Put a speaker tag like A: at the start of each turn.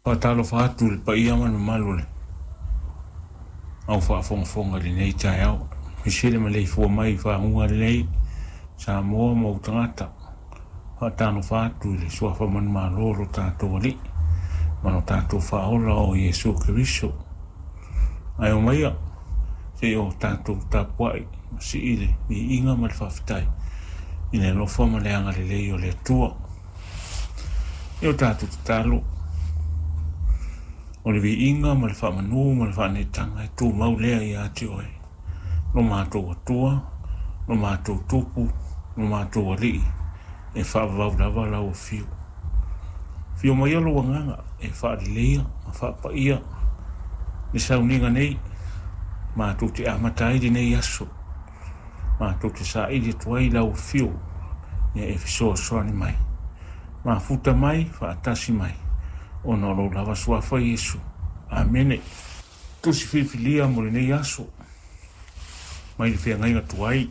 A: Faatalofa atu i le paia ma le mamalu o le au faafogafoga i lenei taeao. Aemaise le maleifua mai i faguga lelei Samoa ma ou tagata. Faatalofa atu i le suafa manumalo o lo tatou Alii ma lo tatou Faaola o Iesu Keriso. Ae omaia se i o tatou tapuai ma sii le viiga ma le faafetai i le alofa ma le agalelei o le Atua. E o tatou tatalo, o le viiga ma le faamanu ma le faaneetaga e tumau lea ia te oe, lo matou Atua, lo matou Tupu, lo matou Alii, e faavavau lava lau afio. Afio maia lou agaga e faaleleia ma faapaia le sauniga nei, matou te amata ai lenei aso, matou te saili atu ai lau afio e fesoasoani mai, mafuta mai, faatasi mai, ona o lou lava suafa Iesu. Amene. Tusi filifilia mo lenei aso, mai le feagaiga tuai.